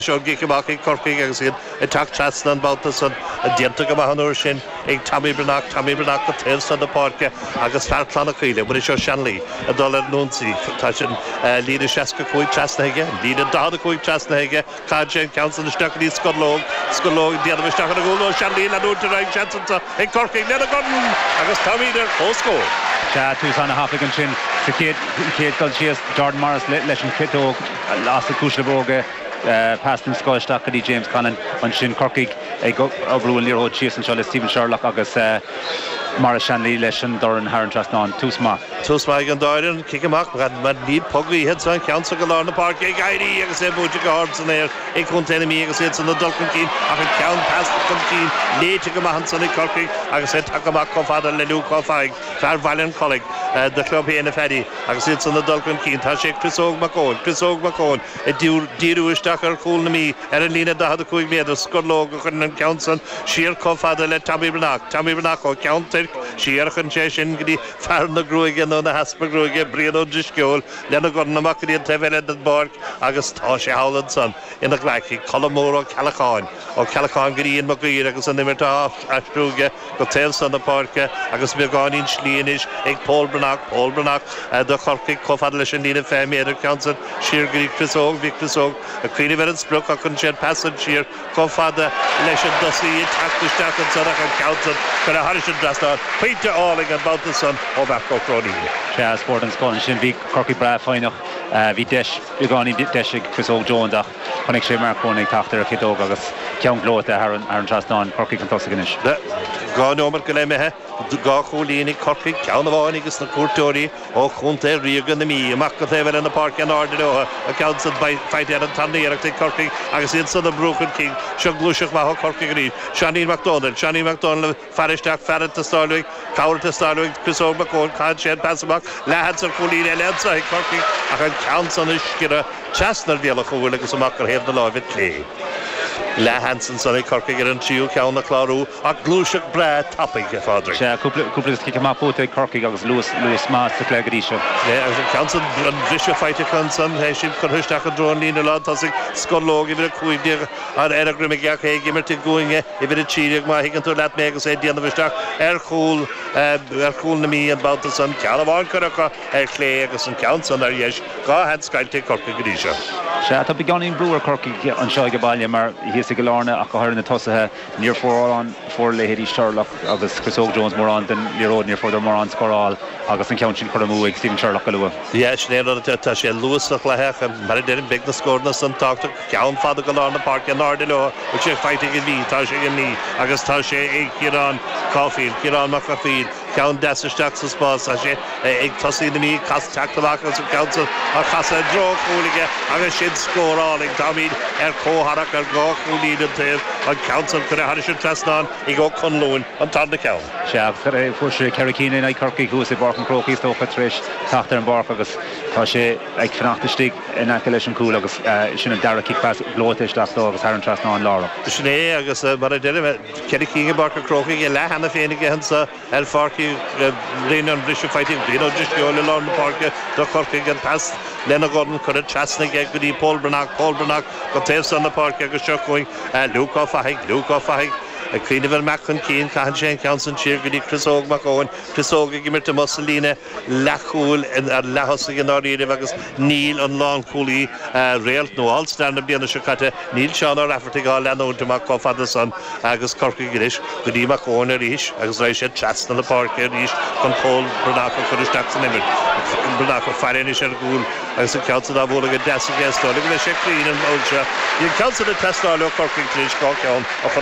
Seo an cic amach ag Corcaigh agus iad ag teacht trasna an babhta san. Déanta go maith an uair sin ag Tommy Breathnach, Tommy Breathnach go taobh san na páirce agus fear Chlanna Caoile, Muiris Ó Seinnlí, ag dul ar an ionsaí. Tá sin líne 65 trasnaithe aige, líne 45 trasnaithe aige. Caitheann sé an ceann san isteach go dtí Scorlóg, Scorlóg ag déanamh isteach ar an gcúl. Ó Seinnlí ag leanúint ar aghaidh, seans anso ag Corcaigh lena dhorn agus táimid ar comhscór. Sea, tús ana-thapaidh ansin sa chéad dul síos, Jordan Morris leis an chiotóg as na cuisle bróige. Pas den scoth isteach go dtí James Conlon. Ansin Corcaigh ag oibriú an liathróid síos anseo le Stephen Sherlock agus Maurice Shanley leis an dorn thar an trasnán. Tús maith. Tús maith ag an dá fhoireann. Cic amach mar níl puc gaoithe anseo. An ceann seo go lár na páirce ag éirí agus é buailte go hard san aer ag contae na Mí agus iad san ag dul chun cinn ach an ceann pas chun cinn léite go maith ansan ag Corcaigh agus é tagtha amach chomh fada le Luke Ó Fathaigh, fear Bhaile an Chollaigh, do chlub féin a Phaddy agus iad san ag dul chun cinn. Tá sé ag Chris Óg Mac Eoin. Chris Óg Mac Eoin. Ag díriú isteach ar chúl na Mí ar an líne 45 méadar, Scorlóg a chuireann an ceann san siar chomh fada le Tommy Breathnach. Tommy Breathnach ó Cheann Toirc siar a chuireann sé sin go dtí fear na gruaige nó na heaspa gruaige, Brian Ó Drisceoil, lena dhorn amach go dtí an taobh eile den bpáirc agus tá sé thall ansan ina ghlaic ag Colm Mór Ó Ceallacháin. Ó Ceallacháin go dtí Ian Mac Uidhir agus an imirt á aistriú aige go taobh san na páirce agus beagáinín slí anois ag Pól Breathnach, Pól Breathnach do Chorcaigh chomh fada leis an líne 20 méadar, ceann san siar go dtí Chris Óg, bhí Chris Óg ag cuimhneamh ar an sprioc ach chuir sé an pas san siar chomh fada leis an dtosaí ag teacht isteach ansan ach an ceann san curtha thairis an dtrasnán. Pointe álainn an babhta san ó Mharc Ó Cróinín. Sea, scór den scoth ansin. Bhí Corcaigh breá foighneach. Bhí deis, beagáinín deis ag Chris Óg Jones ach chonaic sé Mark Coen ag teacht ar a chiotóg agus ceann gleoite thar an trasnán. Corcaigh chun tosaigh anois. 2 nóiméad go leith imithe, 2 chúilín ag Corcaigh, ceann amháin ages na cuairteoirí ó chontae ríoga na Mí. Amach go taobh eile na páirce in airde leo, an ceann san faighte ar an tarna iarracht ag Corcaigh agus iad san ag brú chun cinn. Seo gluaiseacht mhaith ó Chorcaigh arís. Seáinín Mac Dónaill, Seáinín Mac Dónaill ag faire isteach, fear ag teastáil uaidh, cabhair ag teastáil uaidh, Chris Óg Mac Eoin, caitheann sé an pas amach, leathsheans ar chúilín eile anso ag Corcaigh ach an ceann san ag sciorradh trasna ar bhéal an chúil agus amach ar thaobh na láimhe clé. Leathsheans ansan ag Corcaigh ar an tríú ceann a chlárú ach gluaiseacht breá tapaidh, a Phádraig. Sea, cúpla cúpla cic amach buaite ag Corcaigh agus luas luas maith sa chluiche go dtí seo. Sea, agus an ceann san, an briseadh faighte acu ansan, é sin curtha isteach i dtreo an líne lántosaigh, Scorlóg uimhir 15 ar a dhroim aige ach é ag imirt i gcúinne uimhir 13 má thuigeann tú leat mé agus é ag déanamh isteach ar chúl ar chúl na Mí an babhta san. Ceann amháin curtha acu ar chlé agus an ceann san ar dheis. 2 sheans caillte ag Corcaigh go dtí seo. Sea, tá beagáinín brú ar Chorcaigh anseo ag baile mar thíos i gCill Airne ach go háirithe na tosaithe, níor fuair fuair leithéidí Sherlock agus Chris Óg Jones mórán den liathróid, níor fuaireadar mórán scóráil agus an ceann sin curtha amú ag Stephen Sherlock go luath. Yeah, sin é an rud, tá sé luath sa chluiche ach mar a deirim, beidh na scóranna san tábhachtach. Ceann fada go lár na páirce in airde leo, bhfuil sé faighte ag an Mhí, tá sé ag an Mí agus tá sé ag Ciarán Caulfield, Ciarán Mac Cathmhaoil. Ceann deas isteach sa spás. Tá sé ag tosaí na Mí cas teacht amach agus an ceann san á chasadh i dtreo an chúil aige agus sin scór álainn. Táimid ar comhtharrac ar dhá chúilín an taobh. An ceann san curtha thairis an trasnán ag Ó Conluain, an tarna ceann. Sea, fuair sé ceithre cinn in aghaidh Chorcaí thuas i bPáirc an Chrócaigh is dócha tar éis teacht ar an bpáirc agus tá sé ag fanacht istigh in aice leis an gcúl agus sin an dara cic pas gleoite isteach dó agus thar an trasnán láithreach. Sin é agus mar a deirim, 4 cinn i bPáirc an Chrócaigh, a leath cheana féin aige anso ar Pháirc Uí Rinn, an briseadh faighte ag Brian Ó Drisceoil i lár na páirce do Chorcaigh, an pas lena dhorn curtha trasna aige go dtí Pól Breathnach, Pól Breathnach go taobh san na páirce agus seo chugainn Luke Ó Fathaigh, Luke Ó Fathaigh ag cuimhneamh ar imeacht chun cinn, caitheann sé an ceann san siar go dtí Chris Óg Mac Eoin, Chris Óg ag imirt amuigh sa líne leathchúil ar leath-thosaigh i ndáiríribh agus níl an lánchúlaí réalt nó All-Star na bliana seo caite, níl Seán Ó Raifeartaigh á leanúint amach chomh fada san agus Corcaigh anois go dtí Mac Eoin arís agus raghaidh sé trasna na páirce arís chun Pól Breathnach a chur isteach san imirt. Breathnach ag faire anois ar an gcúl agus an ceann san á bhualadh go deas aige is dóigh liom go mbeidh sé cruinn an uair seo. Bhí an ceann san ag teastáil ó Chorcaigh tar éis 2 cheann a chur.